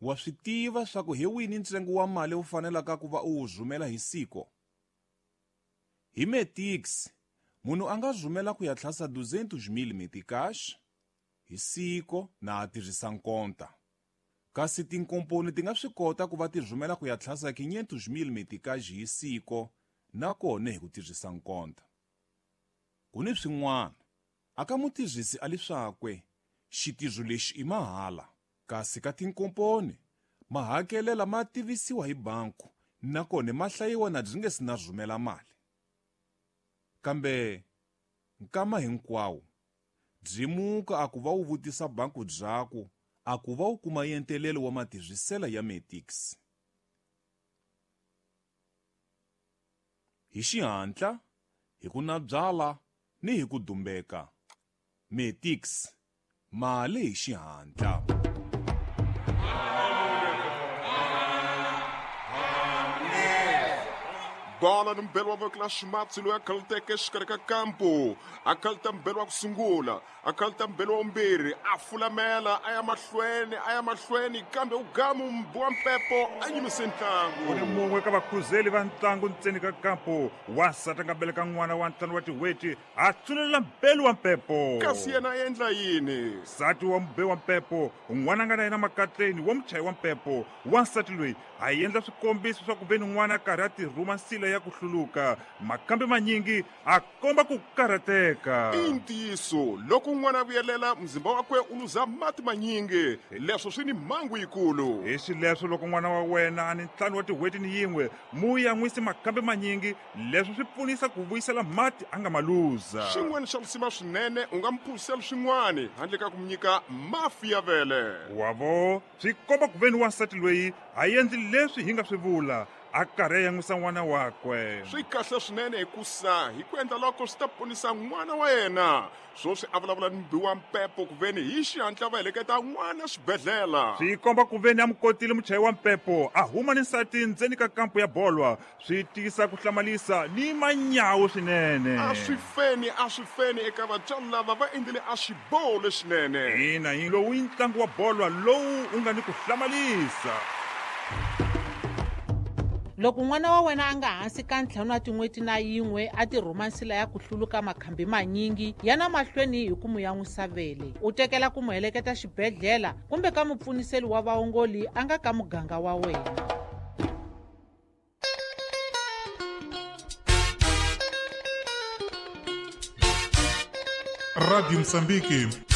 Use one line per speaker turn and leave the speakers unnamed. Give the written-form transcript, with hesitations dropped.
Wa swi tiva swa ku hi wini ntsengo wa mali wu fanelaka ku va u wu rhumela hi siko? Hi Metix, munhu a nga rhumela ku ya tlhasa 200,000 meticais hi siko na a tirhisa nkonta. Kasi tinkomponi ti nga swi kota ku va ti rhumela ku ya tlhasa 500,000 meticais hi siko na kona hi ku tirhisa nkonta. Ku ni swin'wana, a ka mutirhisi a li swakwe, xitirho lexi i mahala. Kasi ka tinkomponi, mahakelela ma tivisiwa hi banku nakona ma hlayiwa na byi nge si na rhumela mali. Kambe nkama hinkwawo byi muka a ku va wu vutisa banku byaku a ku va wu kuma yentelelo wa matirhisela ya Metix. Hi xihatla, hi ku nabyala ni hi ku dumbeka. Metix, mali hi xihatla.
Bola ni mbelo wa voko la ximatsi loyi a khaluteke exikarhi ka kampu a khaluta mbelo wa ku sungula a khaluta mbelo wa vumbirhi a fulamela a ya mahlweni a ya mahlweni kambe u gamu mbi wa mpepo a yimise ntlangu.
U ni mun'we ka vakhuzeli va ntlangu ntseni ka kampu wansati a nga beleka n'wana wa ntlhanu wa tin'hweti a tsunelela mbelu wa mpepo.
Kasi yena a endla yini?
Nsati wa mube wa mpepo n'wana a nga na yena makatleni wa muchayi wa mpepo wansati loyi a endla swikombiso swa ku ve ni n'wana a karhi a tirhuma nsila ya ku hluluka makambe manyingi a komba ku karhateka.
I ntiyiso loko n'wana a vuyelela muzimba wakwe u luza mati manyingi leswo swi ni mhangu yikulu.
Hi xileswo loko n'wana wa wena a ni ntlhanu wa tin'hweti ni yin'we mu yan'wisi makambe manyingi leswo swi pfunisa ku vuyisela mati a nga ma luza.
Xin'wana xa lisima swinene u nga mu phuzisela swin'wana handle ka ku mu nyika mafi ya vele.
Wavo swi komba ku ve ni wansati loyi a endli leswi hi nga swi vula a karhi a yan'wisa n'wana wakwe.
Swi kahle swinene hikusa hi ku endla loko swi ta ponisa n'wana wa yena. Swoswi a vulavula ni mubi wa mpepo ku ve ni hi xihatla va heleketa n'wana xibedhlele.
Swi komba ku ve ni a mu kotile muchayi wa mpepo a huma ni nsati ndzeni ka kampu ya bolwa swi tisa ku hlamalisa ni manyawu swinene.
A swi feni a swi feni eka vatswari lava va endlile a xiboho lexinene.
Ina hi lowu i ntlangu wa bolwa lowu u nga ni ku hlamalisa.
Loko n'wana wa wena a nga hansi ka ntlhanu wa tin'hweti na yin'we a tirhuma nsila ya ku hluluka makhambi manyingi ya na mahlweni hi ku mu yan'wisa vele u tekela ku mu heleketa xibedhlele kumbe ka mupfuniseli wa vaongoli a nga ka muganga wa wena.
Radio Mozambique.